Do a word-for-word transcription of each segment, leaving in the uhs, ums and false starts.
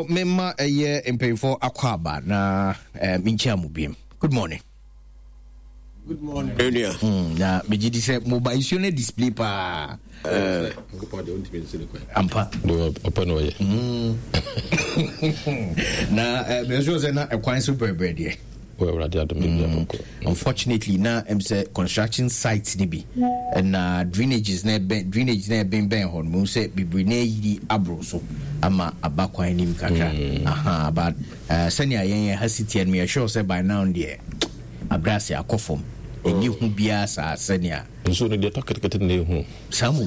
Mema ɛyɛ mpanyinfoɔ akɔ aba na eh, menkyia mo biem. Good morning. Good morning. Enua. Mm, na megye di sɛ moba nsuo no display paa. Eh. Ampa. Ɔpɛ na ɔyɛ. Mm. Na eh, mɛsɛ sɛ na ɛkwan so brɛbrɛ deɛ. Awurade adom bi abɔkɔ. Unfortunately, na ɛm sɛ construction site ni bi na drainages na ɛbɛn drainage na ɛbɛn bɛn hɔ no mo sɛ bebree na ayiri aboro so ama aba kwan nim kakra. Mm. Aha, but uh, sɛnea yɛn yɛn ha si teɛ no yɛ sure sɛ by now deɛ abrɛ ase akɔ fam. Ɛnyɛ hu biara saa sɛnea. Nsuo no deɛ tɔ ketekete na ehu. Saa mu.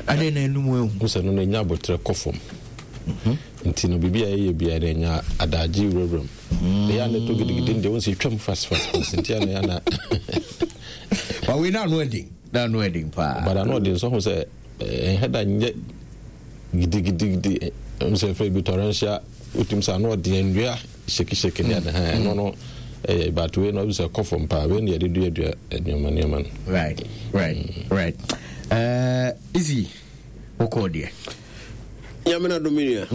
Adɛn na enum ehu? Sɛ no na enya abotire kɔ fam. Nti no biribi a ɛyɛ biara na enya adagye wurawura mu. Ɛyɛ a na ɛtɔ gidigidi deɛ wɔn sɛ twam fast fast fast nti ana ana. Ba wei na ano ɛden, na ano ɛden paa. But ano ɛden nso ho sɛ ɛhɛ da nyɛ gidigidigidi sɛ fɛ bi torrential wotum sɛ ano ɔden nnua shake shake ne ade ha ɛno no ɛyɛ, but wei no sɛ kɔ fam paa. Wei ne yɛde duadua nneɛma nneɛma no. right right right uh, easy wokɔɔ deɛ? Nyame na dom, nua.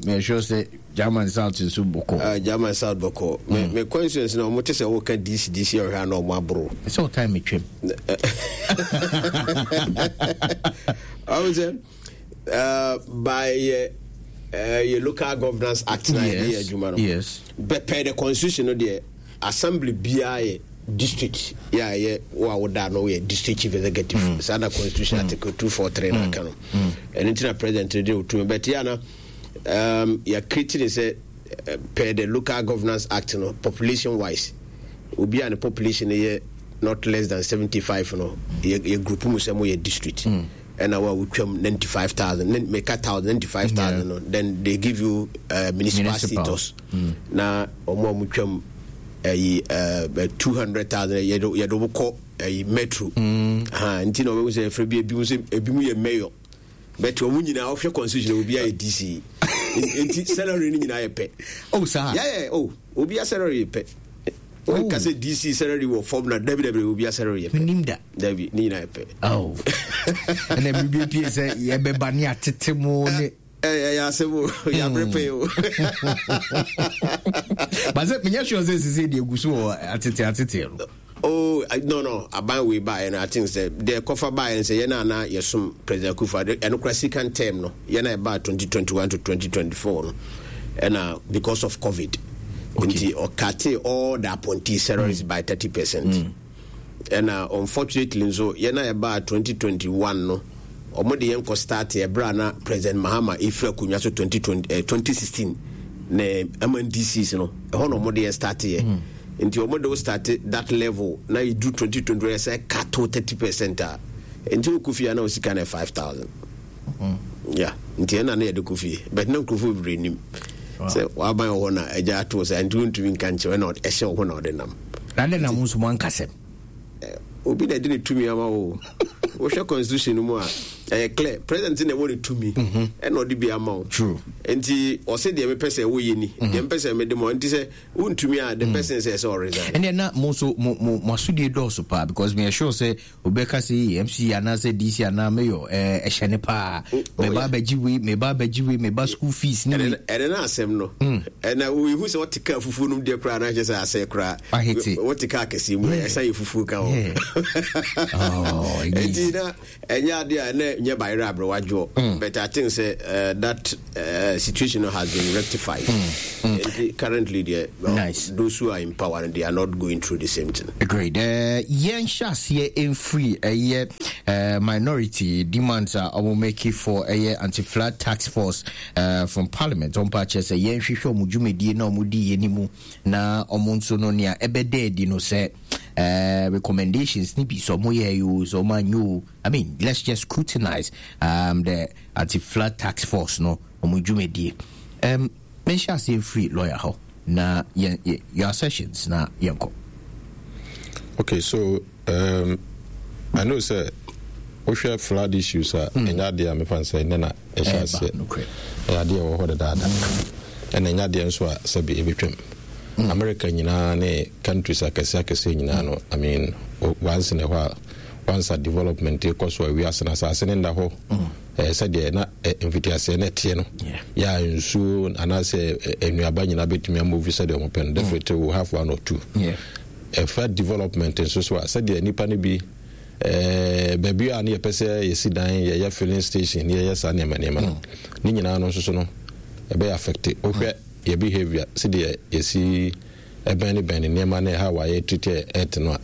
Meyɛ sure sɛ German South nso bɔkɔ. Uh, German South bɔkɔ. mm. me constituency na ɔmo te sɛ woka D C D C ɔhwɛ a na ɔmo aboro. Sɛ wo time metwam. Ɔmo sɛ uh, by uh, yɛ Local Governance Act na yɛde yɛ adwuma no yes. Bɛpɛ the constitution no deɛ, assembly biara yɛ district yɛ a yɛ wo a woda no yɛ district chief executive mm. Saa na constitution mm. article two four three na aka no. Ɛno nti na president no de otumi, but yɛ ana um, yɛ create ne sɛ uh, per the Local Governance Act no, population wise, obi a ne population yɛ not less than seventy five no, yɛ yɛ group mu sɛ mo yɛ district. Mm. Ɛna wa wotwam ninety five thousand, meka thousand, ninety five thousand no, then they give you uh, municipal, municipal status. mm. Na ɔmo a ɔmo twam ɛyi ɛɛ two hundred thousand, yɛde yɛde ɔmo kɔ ɛyi metro. mm. Ha nti na ɔmo sɛ ɛfɛ bi ebi mu sɛ ebi mu yɛ mayor, but ɔmo nyinaa ɔhwɛ constitution, obi ayɛ D C, nti salary no nyinaa yɛ pɛ. Oh, saa? Yɛ yɛ oh, obi a salary yɛ pɛ. Oh. Ka sɛ D C salary wɔ fam na dabi dabi, obi a salary yɛ pɛ. Menim da. Dabi, ne nyinaa yɛ pɛ. Oh. Ɛna biribi pie sɛ yɛbɛba ne atete mu ne. Ɛyɛ asɛm o, yɛabrɛ pɛ o. But sɛ menyɛ sure sɛ sesei deɛ ɛgu so wɔ atete atete no. Oh no no aban wei baeɛ no, I think sɛ deɛ kɔfa baeɛ no sɛ yɛn a na yɛsom President Akufo, ɛno kora second term no, yɛn a ɛbaa twenty twenty-one to twenty twenty-four no, ɛna because of COVID nti ɔcut all the appointee salaries mm. by thirty percent. mm. Ɛna unfortunately nso yɛn a ɛbaa twenty twenty-one no, ɔmo de yɛn kɔ start ɛberɛ a na President Mahama efiri akonnwa so twenty twenty, eh, twenty sixteen na M N D Cs no, ɛhɔ na ɔmo de yɛn start yɛ. mm. Nti ɔmo de wo start that level na yɛdu twenty twenty yɛ sɛ cut thirty percent a, nti wokɔ fie a na wo sika no yɛ five thousand. mm. Yeah, nti ɛna na yɛde kɔ fie, but na nkurɔfoɔ bebree nim sɛ waban wɔ hɔ na agya ato sɛ nti wontumi nka nkyerɛ na ɛhyɛ wo ho na ɔde nam. Na dɛn na mo nso mo ankasɛm? Obi na ɛde ne tumi ama wo. Wohwɛ constitution no mu a, ɛyɛ clear, president na ɛwɔ ne tumi mhm. ɛna ɔde bi ama wo. Nti ɔsɛ deɛ mepɛ sɛ woyɛ ni, mhm. deɛ mepɛ sɛ mede ma, nti sɛ wontumi a, the mm. person sɛ ɛsɛ ɔresign. Ɛnna na mo nso mo mo mo asodie dɔɔso paa, because me sure sɛ obɛka sɛ M C anaasɛ D C anaa mayor ɛɛ ɛhyɛ ne paa, mɛba abɛgye wei, mɛba abɛgye wei, mɛba school fees ne wei. Ɛnɛ na asɛm no ɛna wohu sɛ wɔte kaa fufuo nom deɛ koraa na kyɛ sɛ asɛ koraa ahete wɔte kaa kɛseɛ mu, ɛsa yɛ fufuo ka hɔ. Nti na ɛnyɛ adeɛ a ɛnɛ nyɛ bayerɛ aberɛwadwoɔ mm. But I think sɛ uh, that uh, situation has been rectified. mm. Mm. Nti currently deɛ, nice. Those who are in power, they are not going through the same thing. Great. uh, yɛn hyɛ aseɛ mfiri ɛyɛ uh, minority demands a ɔmo make for ɛyɛ anti-flood task force uh, from parliament. Ɔmo pa kyerɛ sɛ yɛnhwehwɛ ɔmo dwumadie na ɔmo di yɛ ne mu na ɔmo nso no nea ɛbɛda adi no sɛ uh, recommendations ni bi sɛ ɔmo yɛ o, sɛ ɔmo anyɛ o. I mean, let's just scrutinize um, the anti-flood task force no ɔmo dwumadie. um, menhyɛ aseɛ mfiri lawyer hɔ na yɛn your sessions na yɛnkɔ. Okay, so um, I know sɛ wohwɛ flood issues a, mm. ɛnyɛ adeɛ a mefa sɛ ɛnɛ na ɛhyɛ aseɛ. Ɛyɛ adeɛ ɛwɔ hɔ dedaada, ɛna ɛnyɛ adeɛ nso a sɛbi ɛbɛtwam. mm. America nyinaa ne countries akɛseɛ akɛseɛ nyinaa no, I mean, once in a while, once a development kɔ so a, wiase no asase ne nda hɔ. mm. eh, sɛdeɛ na eh, mfitiaseɛ no ɛteɛ no, Yeah. yɛ a nsuo anaasɛ eh, nnuaba nyinaa bɛtumi amove sɛdeɛ ɔmo pɛ no, definitely we have one or two. Yeah. Ɛfa development nso so a, sɛdeɛ nipa no bi ɛɛ baabi a ne yɛpɛ sɛ yɛsi dan, yɛyɛ filling station ne yɛyɛ saa nneɛma nneɛma no ne nyinaa no nso so no, ɛbɛyɛ affect. Wohwɛ yɛ behaviour, sɛdeɛ yɛsi ɛbɛn ne bɛn ne nneɛma ne how a yɛ treat earth no a,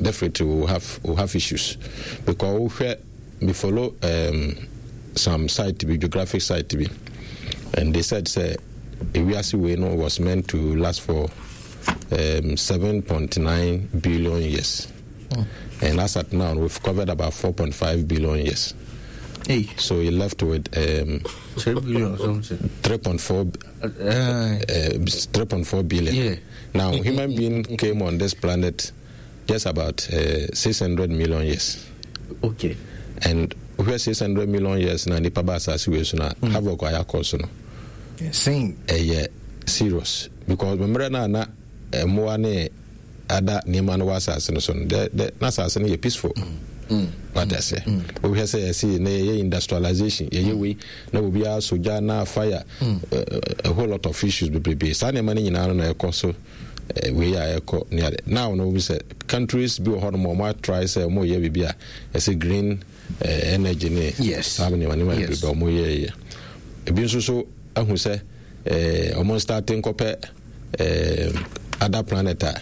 definitely we will have we will have issues, because wohwɛ, we follow um, some site bi, geographic site bi, and they said sɛ ewiase wei no was meant to last for um, seven point nine billion years mm. and as at now we've covered about four point five billion years. Hey. So you left with um, three billion or something. three point four, uh, uh, three point four billion. Yeah. Now, human being came on this planet just about uh, six hundred million years. Okay. And wohwɛ six hundred million years na nipa ba asase wei so na mm. havoc a yɛakɔ so no Same. Ɛyɛ serious, because mmerɛ no a na mmoa ne ada nneɛma no wɔ asase no so no, na asase no yɛ peaceful. Mm. Wate aseɛ? Wohwɛ sɛ yɛse na yɛyɛ industrialization, yɛyɛ wei na obiara so gya na fire, mm. uh, a whole lot of issues bebrebe. Saa nneɛma no nyinaa no na ɛkɔ so wei a ɛkɔ ne ade. Now no, wobi sɛ countries bi wɔ hɔ nom, ɔmo atry sɛ ɔmo yɛ biribi a ɛsɛ green uh, energy ne yes. saa nneɛma nneɛma bebrebe ɔmo yɛ yɛ. Ebi nso so ahu sɛ ɔmo start nkɔpɛ other planet a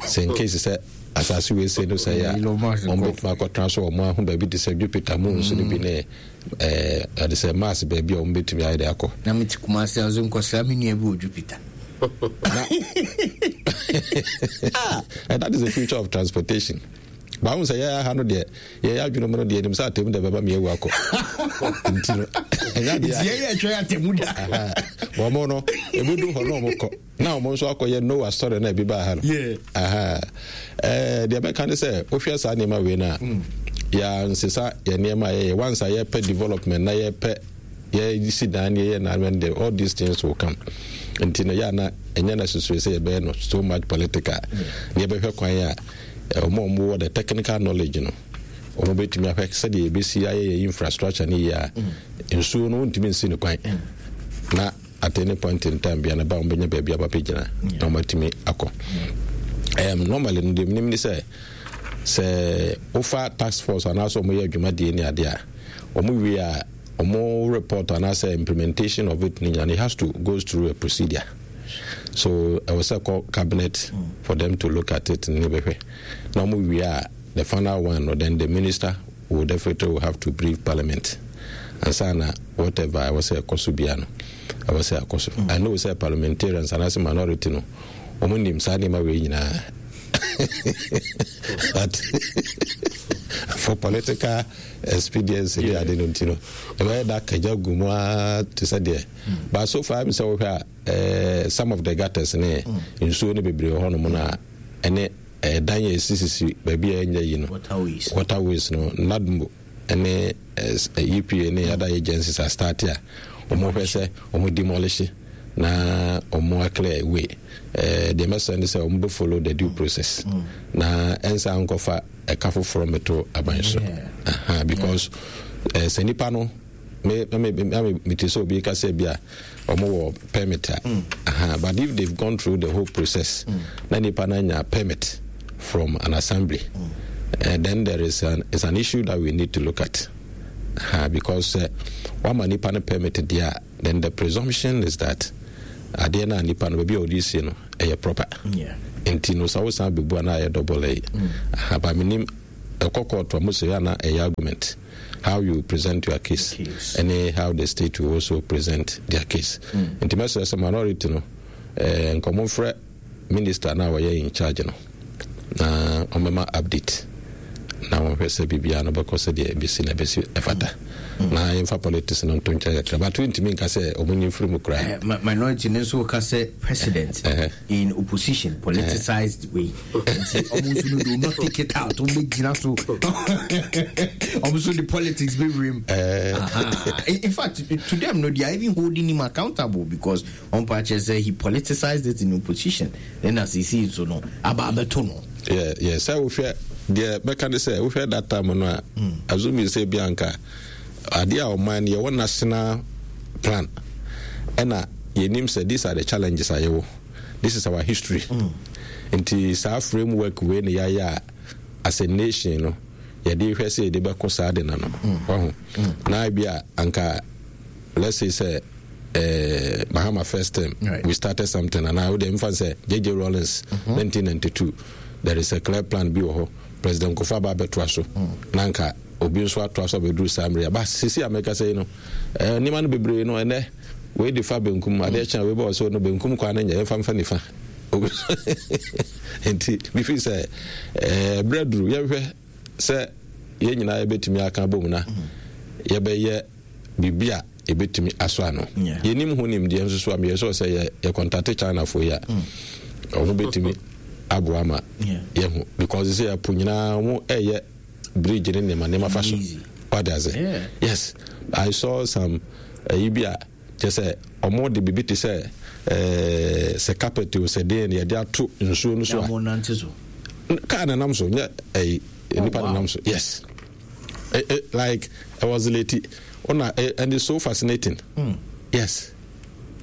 sɛ in case sɛ asase wei se no sɛ yɛ a, ɔmo bɛtumi akɔtena so. Ɔmo aho baabi te sɛ Jupiter, moons no bi ne ɛɛ ɛde sɛ Mars, baabi a ɔmo bɛtumi ayɛ de akɔ. Na mete Kumase a, ɔsɛ nkɔsra me nua bi wɔ Jupiter. And that is the future of transportation. Báwo sɛ yɛyɛ ha no deɛ, yɛyɛ adwene mu no deɛ, nim sɛ atɛmu deɛ bɛba mi ewu akɔ, nti no ɛnya deɛ yɛyɛ atwa atɛmu da. Wɔn no ebi du hɔ na wɔn kɔ na wɔn nso akɔyɛ Noah story na ebi ba ha no. Ɛɛ deɛ bɛka ne sɛ, wohwɛ saa nneɛma wei na yɛ nsesa yɛ nneɛma a yɛyɛ once a yɛpɛ development na yɛpɛ yɛsi dan ne yɛyɛ na de, all these things will come. Nti no yɛ ana ɛnyɛ necessary sɛ yɛbɛyɛ no so much political. Na yɛbɛhwɛ kwan a ɔmo a ɔmo wɔ the technical knowledge no, ɔmo bɛtumi ahwɛ sɛdeɛ yɛbɛsi ayɛ yɛ infrastructure no yie a nsuo no wontumi nsi no kwan na at any point in time bia no ba, wɔn bɛnya baabi aba bɛgyina na wɔn atumi akɔ. um, normally no, deɛ menim ne sɛ sɛ wofa task force anaasɛ wɔn yɛ adwumadie ne adeɛ a, wɔn wie a, wɔn report anaasɛ implementation of it ne nyinaa, it has to go through a procedure. So ɛwɔ sɛ kɔ cabinet for them to look at it ne bɛhwɛ na wɔn wie a, the final one no, then the minister will definitely will have to brief parliament ansa na whatever ɛwɔ sɛ ɛkɔ so bia no, ɛwɔ sɛ ɛkɔ so. I know sɛ parliamentarians anaasɛ minority no, wɔn nim saa nneɛma wei nyinaa, but for political expediency ne ade no nti no, ɛbɛyɛ da kagya gu mu ara te sɛ deɛ. But so far mi sɛ wohwɛ a, some of the gutters ne nsuo no bebree wɔ hɔnom na ɛne ɛdan yɛ esisisi baabi a ɛnyɛ yi no, waterways no, NADMO ɛne E P A ne other agencies a start a wɔn hwɛ sɛ wɔn demolish na wɔn aclear way. ɛɛ deɛ mɛsɛn ne sɛ wɔn bɛ follow the due process na ɛnsa nkɔfa ɛka foforɔ mɛto aban so, because ɛɛ sɛ nipa no me me me me te sɛ obi kasa bi a wɔn wɔ permit a mm. but if they've gone through the whole process mm. na nipa na nya permit from an assembly, mm. uh, then there is an is an issue that we need to look at, uh, because uh, wama nipa no permit deɛ, then the presumption is that adeɛ no a nipa no baabi a ɔde sie no ɛyɛ proper. Nti no sɛ wosan bɛbu a, na ayɛ double ɛyi mm. But menim ɛkɔ court a, mo sɛ yɛ ana ɛyɛ argument, how you present your case, case. and how the state will also present their case. Nti mɛsrɛ sɛ minority no, eh, nkɔmɔ frɛ minister na wɔyɛ in charge no na ɔmɛma update na wɔhwɛ sɛ biribiara no bɛkɔ sɛdeɛ ɛbɛsi na ɛbɛsi ɛfata, na yɛmfa politics no nto nkyɛn kakra, but wontumi nka sɛ ɔmo nyi mfiri mu koraa. Minority no nso ka sɛ president in opposition politicized way, nti ɔmo nso no do not take it out. Ɔmo bɛgyina so, ɔmo nso de politics bɛwura mu. In fact, to them no, they are even holding him accountable because ɔmo pa kyerɛ sɛ he politicized it in opposition, then as he sees so no, aba abɛto no. Yeah, yeah. Sɛ wohwɛ deɛ bɛka ne sɛ wohwɛ that time no a, mm. assuming sɛ bi anka Adeɛ a ɔman no yɛwɔ national plan, ɛna yɛnim sɛ these are the challenges a yɛwɔ, this is our history mm. Nti saa framework wei ne yɛayɛ a, as a nation no, yɛde hwɛ sɛ yɛde bɛko saa de na no waho. Na bi a anka let's say sɛ uh, Mahama first term, right, we started something, and I would emphasize J J. Rawlings, mm-hmm. nineteen ninety-two, there is a clear plan bi wɔ hɔ. President Kufuor aba abɛtoa so mm. na nka obi nso atoa so abɛduru saa mmerɛ ba sisi a mɛka sɛ yi no, eh, nneɛma no bebree no, ɛnɛ wei de fa benkum, adeɛ kyɛn wei bɛ wɔ so no, benkum kwan no nyɛ, yɛmfa mfa nifa. Nti mefi sɛ eh, berɛ duru yɛhwɛ sɛ yɛn nyinaa yɛbɛtumi aka bom na yɛbɛyɛ biribi a yɛbɛtumi asɔ ano. Yɛnim ho nimdeɛ nso so a, meyɛ sɛ sɛ yɛ yɛ contact Chinafoɔ yi a, ɔmo bɛtumi aboa ma yɛho, because sɛ yɛpo nyinaa ɔmo ɛyɛ bridge ne nneɛma nneɛma fa so. Wade ase? Yes, I saw some ɛyi bi a kyɛ sɛ ɔmo de biribi te sɛ ɛɛ sɛ carpet o, sɛ deɛ yɛde ato nsuo no so a kaa na nam so, nyɛ ɛyi, nipa na nam so. Yes, it, it, like it was late ona, and it's so fascinating mm. Yes,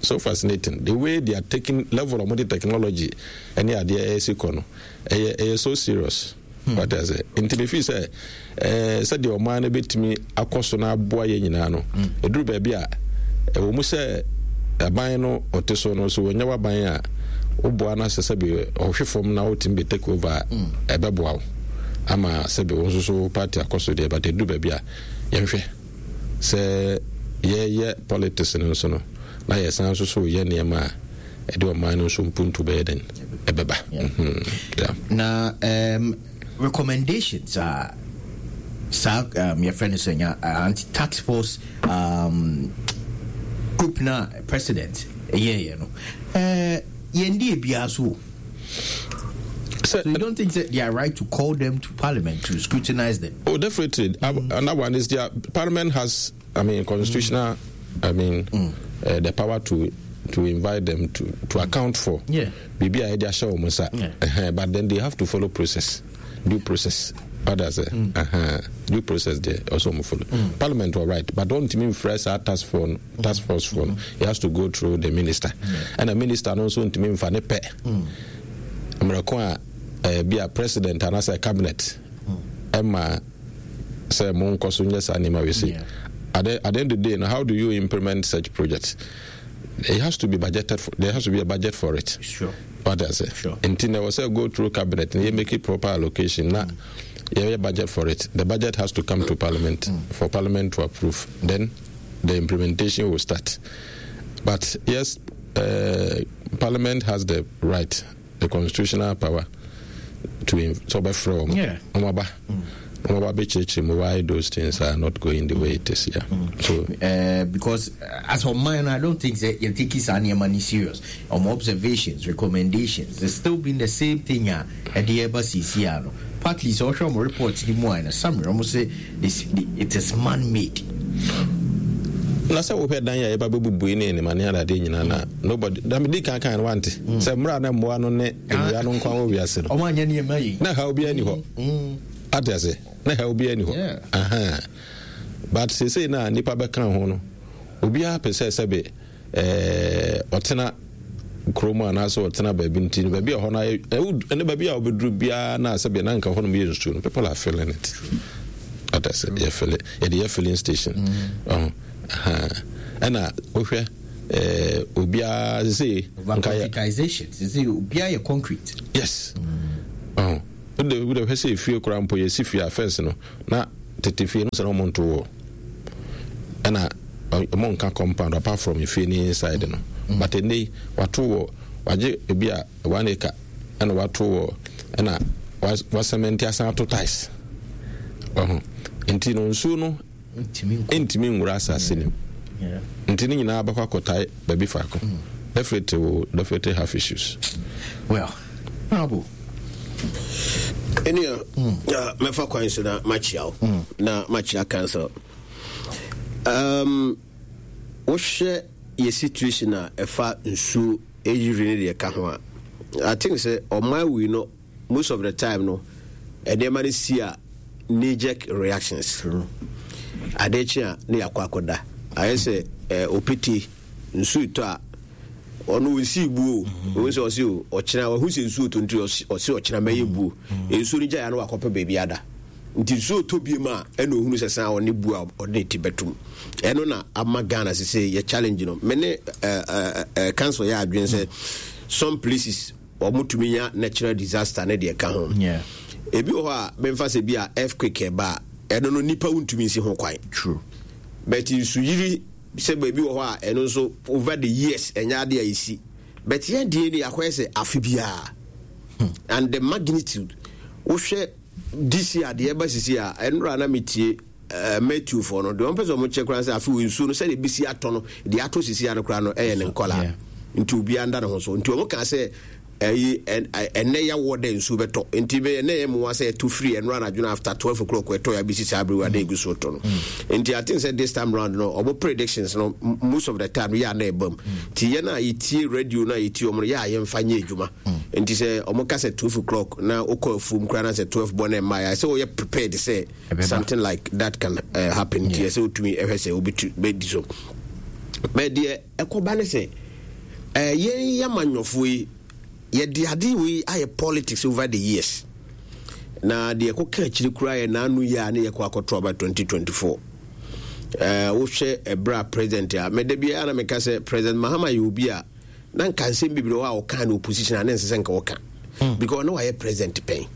so fascinating, the way they are taking level of modern technology ɛne adeɛ ɛyɛ si kɔ no, ɛyɛ ɛyɛ so serious mm. What I say, nti me feel sɛ ɛɛ sɛdeɛ ɔman no bɛtumi akɔ so na aboa yɛn nyinaa no, ɛduru baabi a ɛwɔ mu sɛ aban no ɔte so no so, wɔnyɛ w'aban a woboa no sɛ sɛbi ɔhwe fam na wotumi bɛ take over a, ɛbɛboa wo ama sɛbi wo nso so party akɔ so deɛ. But ɛduru baabi a yɛnhwɛ sɛ yɛyɛ politics no nso no, na yɛsan nso so yɛ nneɛma a ɛde ɔman no nso mpuntu bɛyɛ den ɛbɛba. Na um, recommendations a saa um, yɛfrɛ no sɛ nya anti task force um, group na president ɛyɛɛyɛ no, uh, yɛndi ebiara so o. So you don't think that they are right to call them to parliament to scrutinize them? Oh, definitely. Mm. And that one is their parliament has, I mean, constitutional, mm. I mean, mm. uh, the power to to invite them to to account for. Yeah. Bibi a yɛde ahyɛ wɔn nsa. But then they have to follow process, due process. Others, mm. uh-huh. due process there also follow. Mm. Parliament were right, but don't mean fresh our task force task force for. Mm. It has to go through the minister, mm. and the minister also ntumi nfa ne pɛ. Mmerɛko a eh, bi a president anaasɛ cabinet ɛma sɛ monkɔ so nyɛ saa nneɛma wei sei. At the, at the end of the day, now how do you implement such projects? It has to be budgeted for, there has to be a budget for it. Sure. What I say? Sure. Nti na ɛwɔ sɛ go through cabinet na yɛ make it proper allocation na yɛyɛ budget for it. The budget has to come to parliament mm. for parliament to approve, then the implementation will start. But yes, uh, parliament has the right, the constitutional power to sɛ ɔbɛfrɛ wɔn, ɔmo aba, ɔmo aba bɛkyerɛkyerɛ mu why those things are not going the way it is, yeah. mm. So uh, because as for mine, I don't think that you're taking saa nneɛma ni serious. Ɔmo observations, recommendations, it's still been the same thing a ɛde ɛba sisi ano. Partly sɛ ɔhwɛ ɔmo report ni mu a, na summary ɔmo sɛ it is man made. Na sɛ wohwɛ dan a yɛba bɛbubui ne nneɛma ne adadeɛ nyinaa na nobody na medi kan kan no wante sɛ mmerɛ a na mmoa no ne nnua no nkwa wɔ wiase no, ɔmo anyɛ nneɛma yi. Na haw biara ni hɔ, ate ase? Na haw biara ni hɔ. Aha. But seesei na nipa bɛka ho no, obiara pɛ sɛ sɛbe ɛɛ ɔtena kurom anaasɛ ɔtena baabi, nti no baabi a hɔ no ayɛ ɛne baabi a wobɛduru biara na sɛbe na nka hɔ nom yɛ nsuo no, people are feeling it, ate ase? Yɛ fill, yɛde yɛ filling station. Ɔho ɛna wohwɛ ɛɛ obiara sese nka yɛ concretization, sese obiara yɛ concrete. Yes, ɔho wode wode hwɛ sɛ efie koraa mpo, yɛsi fie a, first no na tete fie no sɛ na ɔmo nto wɔ ɛna ɔmo nka compound apart from efie ne inside no mm. But ɛnɛ yi wato wɔ, wagye ebi a one acre ɛna wato wɔ, ɛna wasɛmɛnti asan ato tiles. Ɔho nti no nsuo no ntumi nwura asase no mu, nti ne nyinaa bɛkɔ akɔtae baabi faako. Definitely will definitely have issues. Well, Honorable. Ɛnua, mɛfa kwan so na makyia wo na makyia council. um, wohwɛ yɛ situation a ɛfa nsuo ɛyiri ne deɛ ɛka ho a, I think sɛ ɔman wei no, most of the time no, nneɛma no si a, knee jerk reactions. Adeɛ kye a ne yɛakɔ akɔda. Ayɛ sɛ eh, opete nsuo tɔ a ɔno ɔnsii buo. Ɔhu sɛ ɔse o ɔkyena, wahu sɛ nsuo tɔ nti ɔse ɔkyena mɛyɛ buo. Nsuo no gyaeɛ no wakɔpɛ baabi ada. Nti nsuo tɔ biem a ɛna ɔhunu sɛ san ɔne buo a ɔde ne ti bɛtom. Ɛno na ama Ghana sese yɛ challenge no. Me ne uh, uh, council yɛ adwene sɛ some places wɔn tumi nya natural disaster ne deɛ ka ho. Ebi wɔ hɔ a memfa sɛ bi a earthquake ɛba a, ɛno no nipa wontumi nsi ho kwan. True. But nsuyiri sɛ baabi wɔ hɔ a, ɛno nso over the years ɛnyɛ ade a ɛsi. But yɛn deɛ ni akɔyɛ sɛ afe biara and the magnitude, wohwɛ this year adeɛ ɛba sisi a, ɛnora na metie uh, Matthew fɔ no deɛ ɔmpɛ sɛ ɔmo kyɛ koraa sɛ afe wɔ nsuo no sɛdeɛ ebisi atɔ no, deɛ atɔ sisi ano koraa no ɛyɛ ne nkɔla, nti obiara nda ne ho so. Nti ɔmo kaa sɛ ɛyi ɛnɛ yɛwɔ dɛ nsuo bɛtɔ, nti bɛ ɛnɛ yɛ mmoa sɛ ɛtɔ firi ɛnora anadwo no after twelve o'clock ɛtɔ yɛ abɛsi saa abiri wa de egu so tɔ no. Nti I think sɛ this time round no, ɔmo predictions no, most of the time no yɛ ana ɛbam. Nti yɛn a yɛtie radio no a yɛtie ɔmo no, yɛ a yɛmfa nyɛ adwuma. Nti sɛ ɔmo ka sɛ twelve o'clock na wokɔ afuom koraa na sɛ twelve bɔ na ɛmma yɛ sɛ wɔyɛ prepared sɛ something like that can uh, happen. Nti ɛsɛ wotumi ɛhwɛ sɛ wobɛtu bɛdi so. Bɛ deɛ ɛkɔba ne sɛ uh, yɛn yamanyɔfoɔ yi, yɛde ade wei ayɛ politics over the years. Na deɛ ɛkɔka akyiri koraa yɛ n'ano yi a ne yɛkɔ akɔto aba twenty twenty-four. uh, wohwɛ ɛberɛ a president a mɛda biara na meka sɛ President Mahama yɛ obi a na nka nsɛm bebree hɔ a ɔka ne opposition a ne nsɛ sɛ nka wɔka mm. because na wayɛ president pɛn,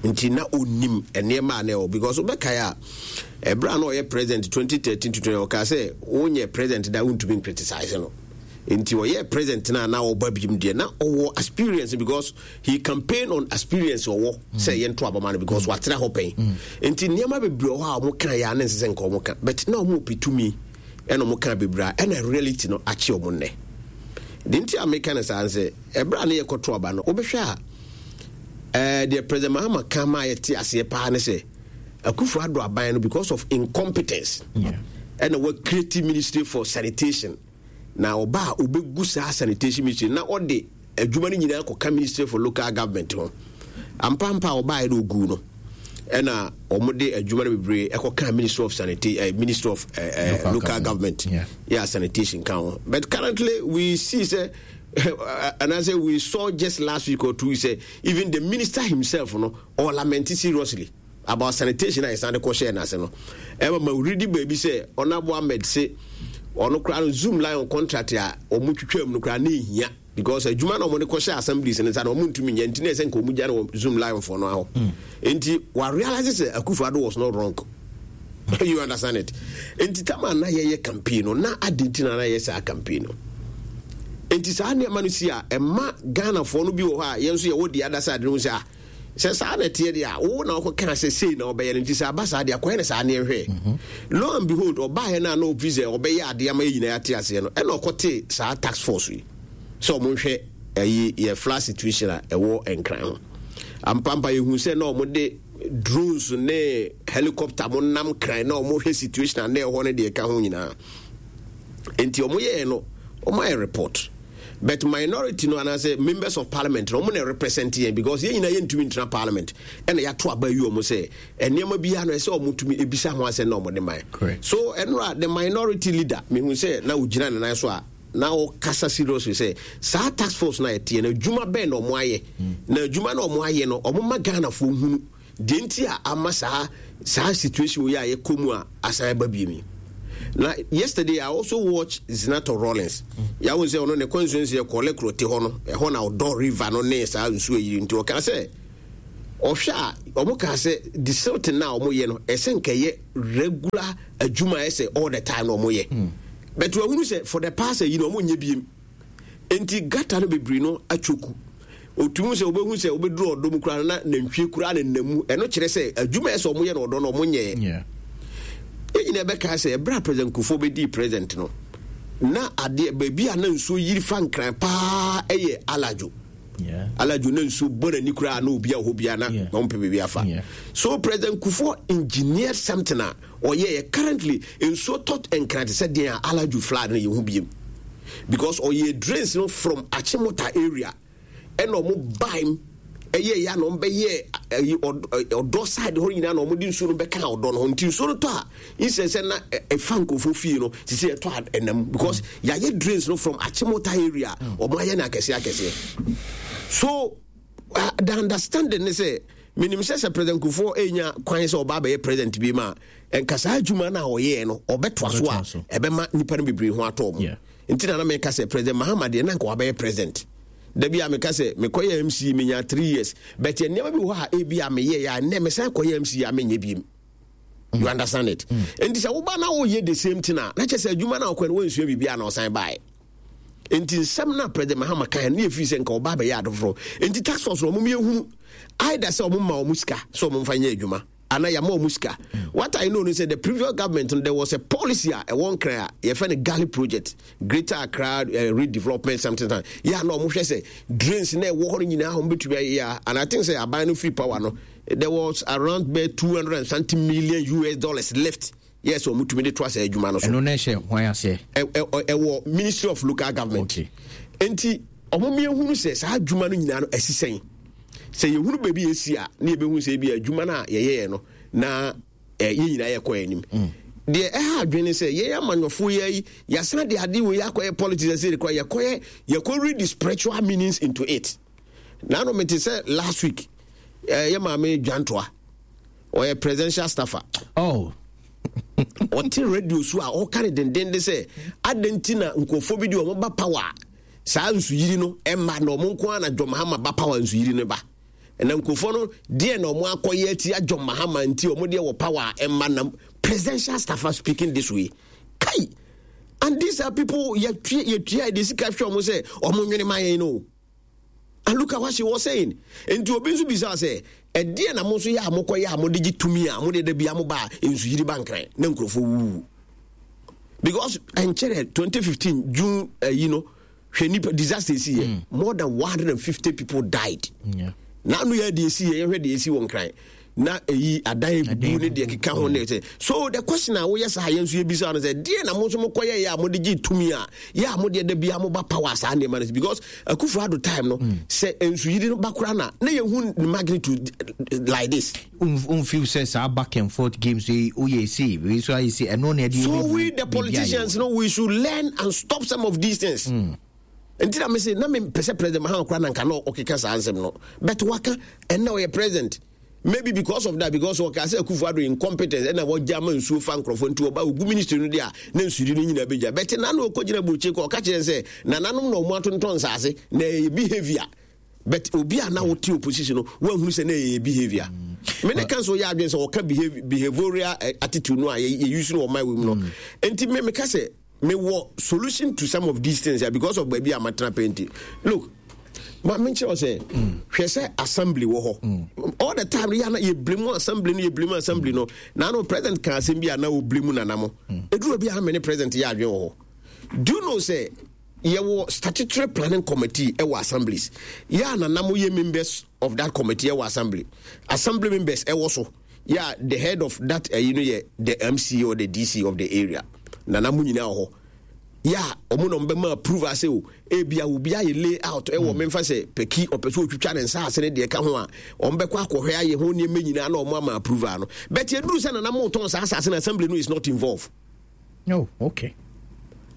nti na onim nneɛma a na ɛwɔ. Because wobɛkae a, ɛberɛ a na ɔyɛ president twenty thirteen to twenty, ɔkaa sɛ wonyɛ president da wontumi criticize no. Nti ɔyɛ president no a na ɔba biom deɛ na ɔwɔ experience, because he campaign on experience ɔwɔ sɛ yɛnto abama no because watena hɔ pɛn. Nti nneɛma bebree wɔ hɔ a ɔmo ka yɛ a ne nsɛ sɛ nka ɔmo ka, but na ɔmo pɛ tumi ɛna ɔmo ka bebree a ɛna reality no akye ɔmo nnɛ de. Nti a meka no saa sɛ ɛberɛ a ne yɛkɔto aba no, wobɛhwɛ a ɛɛ deɛ President Mahama ka ma yɛte aseɛ paa ne sɛ Akufo Addo aban no, because of incompetence, ɛna wa create Ministry for Sanitation. Na ɔba a ɔbɛgu saa sanitation ministry na ɔde adwuma no nyinaa kɔka Ministry for Local Government ho. Ampampa a ɔbaeɛ no, ɔgu no ɛna wɔde adwuma no bebree ɛkɔka Ministry of Sanitation, uh, Ministry of uh, uh, local, local Government, yeah. yeah sanitation ka ho. But currently we see sɛ and I say we saw just last week or two sɛ even the minister himself no or lament seriously about sanitation a yɛsan de kɔhyɛɛ n'ase no. Ɛma ma woredi baabi sɛ Honourable Ahmed se ɔno koraa no, Zoomlion contract a wɔn twitwa mu no koraa ne ehia, because adwuma na wɔn de kɔhyɛ assemblies no nsa na wɔn ntumi nyɛ, nti na ɛsɛ nka wɔn gya no wɔ Zoomlion fo no ahɔ. Nti wa realize sɛ Akufo Addo was not wrong, you understand it? Nti tama na yɛyɛ campaign no na adi nti na na yɛ saa campaign no. Nti saa nneɛma no si a, ɛma Ghanafoɔ no bi wɔ hɔ a yɛn nso yɛwɔ the other side no sɛ, ah, sɛ saa na ɛteɛ deɛ a, wo na wokɔkaa sɛ sei na ɔbɛyɛ no, nti sɛ aba saa deɛ akɔyɛ no saa neɛ hwɛ. Lo and behold, ɔbaeɛ no a na ɔfi sɛ ɔbɛyɛ adeɛ ama yɛ nyinaa yɛate aseɛ no, ɛna ɔkɔtee saa task force yi sɛ ɔmo nhwɛ ɛyi yɛ flood situation a ɛwɔ Nkran ho. Ampampa yɛhu sɛ na ɔmo drones ne helicopter mo nam Kran na ɔmo hwɛ situation a na ɛhɔ no deɛ ɛka ho nyinaa. Nti ɔmo yɛɛ no, ɔmo ayɛ report, but minority no anaasɛ members of parliament no, ɔmo na represent yɛn, because yɛn nyinaa yɛntumi ntena parliament. Ɛna yɛato aba yi ɔmo sɛ nneɛma biara no ɛsɛ ɔmo tumi ebisa ho asɛm na ɔmo de man. So ɛnora the minority leader, mehu sɛ na ogyina ne nan so a na ɔkasa seriously sɛ saa task force na yɛteɛ no, adwuma bɛn na ɔmo ayɛ? Na adwuma na ɔmo ayɛ no, ɔmo ma Ghanafoɔ hunu deɛ nti a ama saa saa situation yi a yɛkɔ mu a asan aba biem yi. Na yesterday I also watch Zanetor Rawlings. Yàwó sɛ ɔno ne constituency yɛ Korle Klottey hɔ no, ɛhɔ na Ɔdɔ River no ne saa nsuo yi. Nti ɔka sɛ ɔhwɛ a, ɔmo ka sɛ desilting na ɔmo yɛ no, ɛsɛ nkɛyɛ regular adwuma, ɛsɛ all the time na ɔmo yɛ, but wahunu sɛ for the past yi na ɔmo nyɛ biem. Nti gutter no bebree no atwoku, otumi sɛ wobɛhu sɛ wobɛduru Ɔdɔ mu koraa na nantwie koraa ne nam mu. Ɛno kyerɛ sɛ adwuma ɛsɛ ɔmo yɛ no Ɔdɔ no, ɔmo nyɛɛ. Yɛn nyinaa bɛka sɛ ɛberɛ a President Kufuor bɛdii president no, na adeɛ baabi a na nsuo yiri fa Nkran paa ɛyɛ Alajo. Alajo na nsuo bɔ n'ani koraa na obi a ɔhɔ biara na na ɔmpɛ baabi afa. So President Kufuor engineered something a ɔyɛɛ. Currently nsuo tɔ Nkran te sɛ deɛ a Alajo flood no yɛ ho biem, because ɔyɛ drains no from Achimota area ɛna ɔmo baim. Ɛyɛ yɛ na ɔmo bɛyɛ ɛyi ɔdɔ side hɔ nyinaa na ɔmo de nsuo no bɛka ɔdɔ no ho. Nti nsuo no tɔ a, insɛ sɛ na ɛfa nkurɔfoɔ fie no sisi ɛtɔ a ɛnam because yɛayɛ drains no from Achimota area, ɔmo ayɛ no akɛseɛ akɛseɛ. So uh, the understanding ne sɛ menim sɛ sɛ President Kufuor ɛnya kwan sɛ ɔba abɛyɛ president bi ma a, nka saa adwuma no a ɔyɛɛ no ɔbɛtoa so a, ɛbɛma nnipa no bebree ho atɔ ɔmo. Nti na na meka sɛ President Mahama deɛ, na nka wabɛyɛ president da bi a, meka sɛ mekɔyɛ M C E, menya three years, but nneɛma bi wɔ hɔ a ebi a meyɛ yɛ a, nnɛ mesan kɔyɛ M C E a, menyɛ biem. You understand it? Nti sɛ woba na woyɛ the same thing a, na kyerɛ sɛ adwuma no a wokɔ no, woansua biribi a na ɔsan baeɛ. Nti nsɛm no a President Mahama kan ne yɛfiri sɛ nka ɔba abɛyɛ ade foforɔ. Nti task force no, ɔmom yɛhunu either sɛ ɔmo ma ɔmo sika sɛ ɔmo mfa nyɛ adwuma anaa yɛama ɔmo sika. What I know no sɛ the previous government no, there was a policy a ɛwɔ Nkran a yɛfɛ no GARLI project, Greater Accra uh, Redevelopment something something. Yɛ a na ɔmo hwɛ sɛ drains na ɛwɔ hɔ no nyinaa ɔmo bɛtumi ayɛ a, and I think sɛ aban no free power no, there was around bɛ two hundred and something million U S dollars left. Yes, ɔmo tumi de to asɛ adwuma no so. Ɛno na ɛhyɛ hwan aseɛ? Ɛwɔ Ministry of Local Government. Okay. Nti ɔmo miehunu sɛ saa adwuma no nyinaa no ɛsi sɛn. Sɛ yɛhunu baabi yɛsi a, ne yɛbɛhu sɛ ebi adwuma no a yɛyɛɛ no na yɛn nyinaa yɛkɔ anim. Deɛ ɛha adwene sɛ yɛn amanyɔfoɔ yɛ yi, yɛasan de ade wei akɔyɛ politics. Ɛsɛ de kɔ yɛkɔyɛ, yɛkɔ read the spiritual meanings into it. Naano mete sɛ last week, yɛ maame Dwantoa, ɔyɛ presidential staffer. Oh. Ɔte radio so a ɔka ne dendenden sɛ adɛn nti na nkurɔfoɔ bi de ɔmo ba power, saa nsuyiri no ɛma na ɔmo nko ara na John Mahama ba power, nsuyiri no ba. Ɛna nkurɔfoɔ no deɛ na ɔmo akɔyɛ atia John Mahama nti ɔmo deɛ wɔ power ɛma na presidential staffer speaking this way kai. And these are people yɛtua yɛtua yɛde sika hwɛ ɔmo sɛ ɔmo nwene ma yɛn no, and look at what she was saying. Nti obi nso bisa sɛ ɛdeɛ na mo nso yɛ a mokɔyɛ a mode gye tumi a mode da bia mo ba a nsuyiri ba Nkran na nkurɔfoɔ wuwu, because ɛnkyerɛ twenty fifteen June ayi no, hwɛ nipa disaster esi yɛ mm. more than one hundred and fifty people died. Na ano yɛ deɛ esi yɛ, yɛhwɛ deɛ esi wɔ Nkran na eyi adan ebubu ne deɛ keka ho ne sɛ. So the question a woyɛ saa, yɛn nso yɛbisa no sɛ deɛ na mo nso mokɔyɛ yɛ a mode gye tumi a yɛ a modeɛ da bia moba power saa nneɛma no, because Akufo Addo time no mm. sɛ nsuyiri no ba koraa na na yɛhu magnitude like this. Unfeel sɛ saa back and forth games yi woyɛ si wei so ayɛ si ɛno na ɛde. So we the politicians no, we should learn and stop some of these things. Mm. Nti na mese na mepɛ sɛ President Mahama koraa na nka na ɔkeka saa nsɛm no, but waka ɛnna ɔyɛ president, maybe because of that, because ɔka sɛ Akufo Addo incompetence ɛna wɔgya ama nsuo fa nkurɔfoɔ, nti ɔba ogu ministry no deɛ a na nsuyiri no nyinaa bɛgya. Bɛte na na ɔkɔgyina burokyi kɔ ɔka kyerɛ sɛ nananom na ɔmo atontɔn nsase na ɛyɛ behavior, but obi a na wote opposition no, woahunu sɛ na ɛyɛ behavior. Me ne ka so yɛ adwene sɛ ɔka behavioral attitude no a yɛuse no wɔ man wɔ mu no. Nti me meka sɛ mewɔ solution to some of these things, yeah, because of baabi a matena pɛ. Nti look, ma menkyerɛ wo sɛ hwɛ sɛ assembly wɔ hɔ all the time no, yɛana yɛblame assembly no, yɛblame assembly no. Na no president ka asɛm bi a na wɔblame nanamo ɛduru bi a me ne president yɛ adwene wɔ hɔ. Do you know sɛ yɛwɔ statutory planning committee ɛwɔ assemblies, yɛ a nanamo yɛ members of that committee ɛwɔ assembly, assembly members ɛwɔ so, yɛ the head of that ɛyi no yɛ the M C or the D C of the area, nanamo nyinaa wɔ hɔ, yɛ a ɔmo na ɔmo bɛma approve ase o. Ebi a obi ayɛ layout ɛwɔ mm. memfa sɛ pɛki ɔpɛ sɛ otwitwa ne nsa ase ne deɛ ka ho a, ɔmo bɛkɔ akɔhwɛ ayɛ ho nneɛma nyinaa na ɔmo ama approve ano, but eduru sɛ nanamo tɔn saa asase na assembly no is not involved. Oh, okay.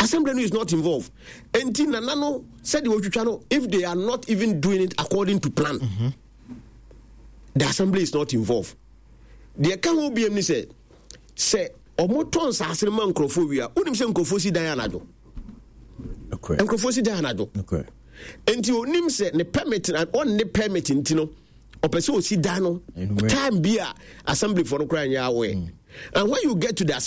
Assembly no is not involved. Enti nana no sɛdeɛ otwitwa no, if they are not even doing it according to plan, mm -hmm. the assembly is not involved. Deɛ ka ho biem ni sɛ sɛ ɔmo tɔn nsaase no ma nkurɔfoɔ wie a, wonim sɛ nkurɔfoɔ si dan anadwo, nkurɔfoɔ si dan anadwo. Nti onim sɛ ne permit na ɔnne permit, nti no ɔpɛ sɛ osi dan no time bi a assembly foɔ no koraa nyɛ aware mm. And when you get to the assembly